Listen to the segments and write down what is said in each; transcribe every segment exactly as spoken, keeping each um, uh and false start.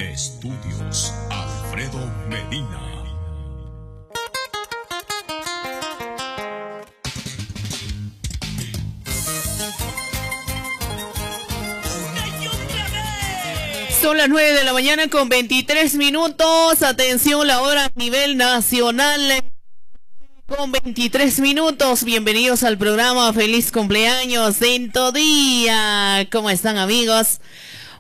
Estudios Alfredo Medina. Son las nueve de la mañana con veintitrés minutos. Atención, la hora a nivel nacional con veintitrés minutos. Bienvenidos al programa. Feliz cumpleaños en tu día. ¿Cómo están, amigos?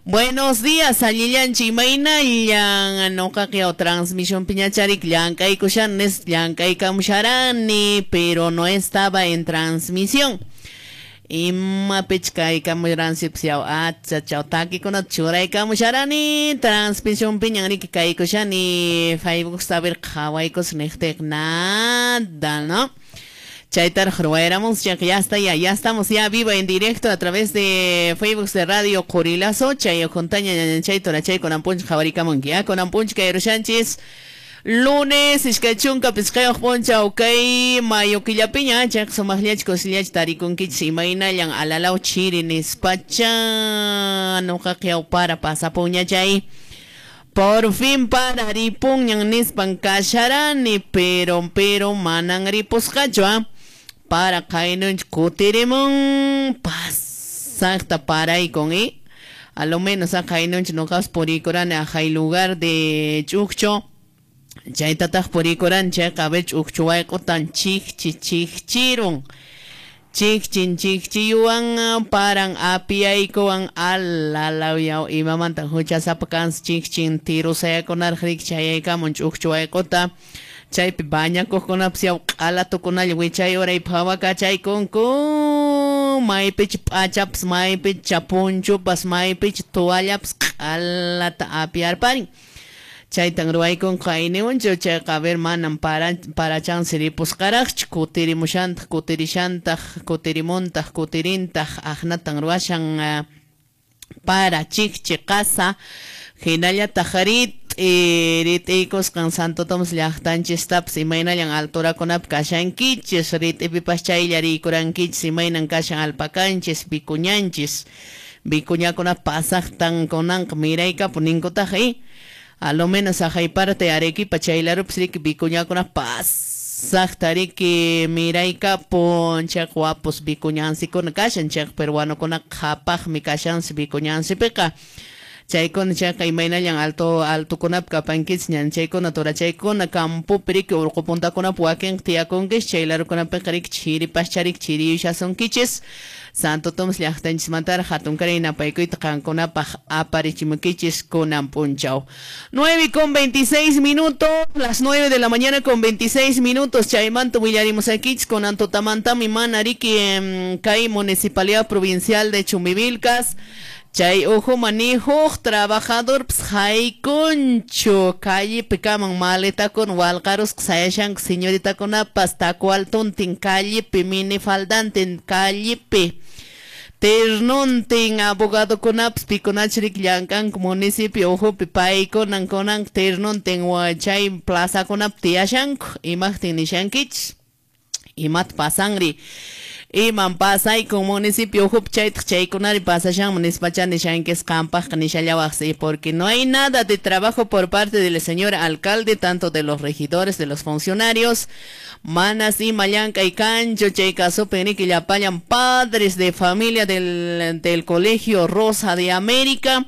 Buenos días, allillanchi imaynallan noqaqa transmisión piñacharik llank'aykushanes llank'aykamusharani, pero no estaba en transmisión. Imapich kaykamuransipas yaw achachaw takikunata churaykamusharani transmisión piñan riki kaykushani Facebook saber qhawaykus niqtiq nada, ¿no? Chaytaraq ruwayramus, ya que ya está, ya, ya estamos ya vivo en directo a través de Facebook de Radio Qorilazo, chay juntaña ñañanchay torachay konampunch qhawarikamunki, ya konampunch kayrushanchis. Lunes, iskay chunka pisqayuq p'unchaw kay mayo killapiña, chayqa sumaqllach kusillach tarikunkichis imaynallan alalaw chiri nispacha nuqaqa yaw para pasapunña chay. Por fin para ripunñan nispan kasharani, pero pero manan ripusqachu, ¿ah? Para qaynunch kutirimun pasaqta paraykun, ¿eh? A lo menos a qaynunch nuqapas purikurani ajay lugar de Ch'uqcho. Chaytataq purikuran chayqa a ver ch'uqchu wayq'utan chikchi chikchirun chikchin chikchiyuwan paran apiyaykuwan alalaw yaw imamanta huchasapa kansi chikchin tirusayakunaraq riki chayaykamun ch'uqchu wayq'uta chaypi bañakuqkunapas yaw q'alatukunalla wichay uray phawakachaykunku maypicha p'achapas maypicha punchupas maypicha toallapas q'alata apiyarparin. Chaytan ruwaykunqa qayniwanchu chayqa a ver manan para parachansi ripusqaraqchu kutirimushantaq kutirishantaq kutirimuntaq kutirintaq aqnatan ruwashan uh, para chikchi qasa hinallataq rit'i rit'iykusqan Santo Tomás llaqtanchistapas imaynallan alturakunapi kashankichis rit'ipipas chaylla riykurankichis imaynan kashan alpakanchis vicuñanchis vicuñakuna pasaqtan kunanqa miraykapu ninkutaq eh? A lo menos ajay parte Arequipa chaylarupas riki vicuñakuna pasaqta riki miraykapun chayqa wapus vicuñansikuna kashan chayqa peruanokuna qhapaqmi kashansi vicuñansipiqa chaykuna chayqa imaynallan alto altokunapi kapankichis ñanchaykuna turachaykuna campopi riki urqu puntakunapi wakinqa tiyakunkichis chaylarukunapiqa riki chiripaschá riki chiriyushasunkichis Santo Tomás llaqtanchismantaraq hatunkaray napaykuyta qankunapaq aparichimukichis kunan p'unchaw. nueve con veintiséis minutos, las nueve de la mañana con veintiséis minutos, chaymanta willarimusakichis kunan tutamantami mana riki kay Municipalidad Provincial de Chumbivilcas. Chay uhu manihuq trabajador ps haykunchu callepi kaman maletakuna walqarusqa sayashanku señoritakunapas takualtuntin callepi minifaldantin callepi ternuntin abogadokunapas pikunachu riki llank'anku municipio uhupi paykunan kunanqa ternuntin chay plazakunapi tiyashanku imaqtin nishankichis imata pasanri iman pasaykun municipio uhupi chaytaq chaykunari pasashanman nispacha nishankis qampaqqa nishallawaqsi porque no hay nada de trabajo por parte del señor alcalde, tanto de los regidores, de los funcionarios manas ima llank'ay kanchu chay kasupi riki llapallan padres de familia del, del colegio Rosa de América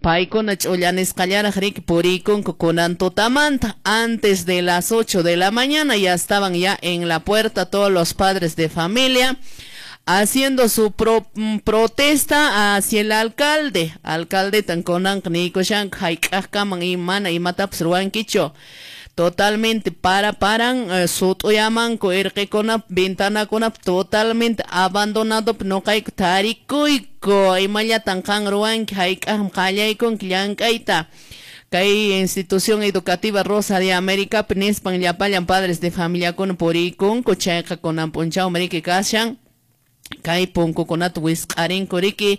paykuna ch'ullanisqallaraq riki puriykunku kunan tutamanta antes de las ocho de la mañana ya estaban ya en la puerta todos los padres de familia haciendo su pro, protesta hacia el alcalde alcalde tan kunanqa niykushanku hayk'aqkaman imana imatapas ruwankichu totalmente para paran eh, sut'uyamanku irqikunap ventanakunap totalmente abandonado noqayku tarikuyku imallatan qan ruwanki hayk'aqmi qallaykunki llank'ayta kay institución educativa Rosa de América nispan llapallan padres de familiakuna puriykunku chayqa kunan p'unchawmi riki kashan kay punkukunata wisq'arinku riki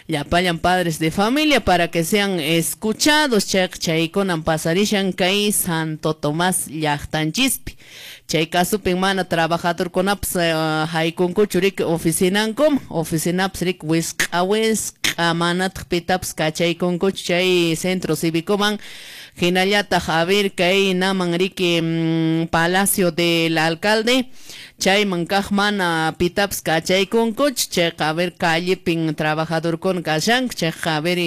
llapallan padres de familia para que sean escuchados chayqa chaykunan pasarishan kay Santo Tomás llaqtanchispi Chay kasupin mana trabajadorkunapas uh, haykunkuchu riki oficinankum, oficinapas riki wisq'a wisq'a manataq pitapas kachaykunkuchu chay centro cívicoman. Hinallataq a ver kay naman riki mm, Palacio del Alcalde chayman kaq mana pitapas kachaykunkuchu chayqa a ver callepin trabajadorkuna kashanku chayqa a ver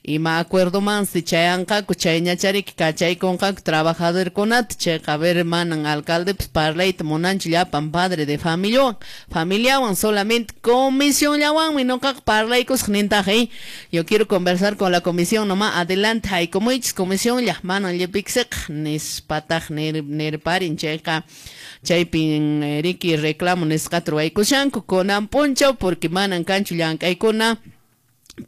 ima acuerdomansi chayanqaku chayñachariki kachaykunqaku trabajadorkunata chayqa a ver manan alcaldepas parlayta munanchu llapan padre de familiawan familiawan solamente comisionllawanmi nuqaqa parlaykusaq nintaq eh yo quiero conversar con la comisión nomás adelante haykumuychis comisión manan llipiksiqa nispataq nir nirparin chayqa chaypin riki reclamo nisqata ruwaykushanku kunan p'unchaw porque manan kanchu llank'aykuna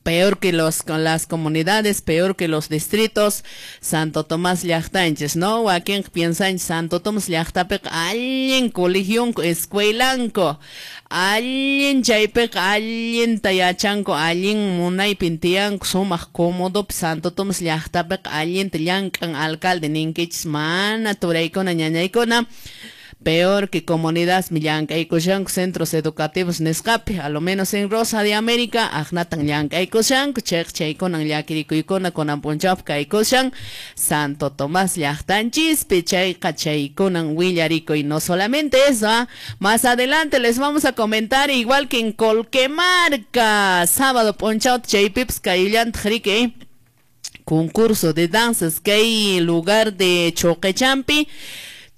peor que los con las comunidades, peor que los distritos. Santo Tomás llaqtanchis, ¿no? Wakinqa piensanchis Santo Tomás llaqtapiqa allin colegionku, escuelanku, allin chaypiqa allinta yachanku, allin munaypin tiyanku, sumaq cómodopi Santo Tomás llaqtapiqa allinta llank'an alcalde ninkichis, mana turaykuna ñañaykuna. Peor que comunidad llank'aykushanku centros educativos nisqapi, a lo menos en Rosa de América, aqnatan llank'aykushanku, chayqa chaykunan llakirikuykuna kunan p'unchawpi kaykushan Santo Tomás llaqtanchispi, chayqa chaykunan willarikuy. No solamente eso, ¿eh? Más adelante les vamos a comentar igual que en Colquemarca, sábado p'unchaw chaypipas kayllantaq riki concurso de danzas kay lugar de Choquechampi.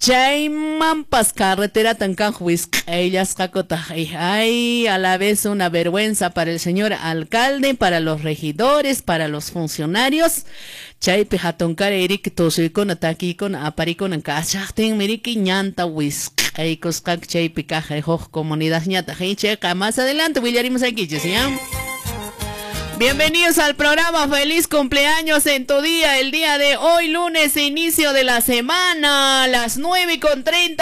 Chaymanpas carreteratan kaq wisq'ayllasqakutaq. Ay, a la vez una vergüenza para el señor alcalde, para los regidores, para los funcionarios. Chaypi hatunkaray riki tusuykuna takiykuna aparikuna kashaqtinmi riki ñanta wisq'aykusqaku chaypi kaq huk comunidadñataq. Chayqa más adelante willarimusaykichis, ¿ya? Bienvenidos al programa, feliz cumpleaños en tu día, el día de hoy, lunes, inicio de la semana, las nueve con treinta.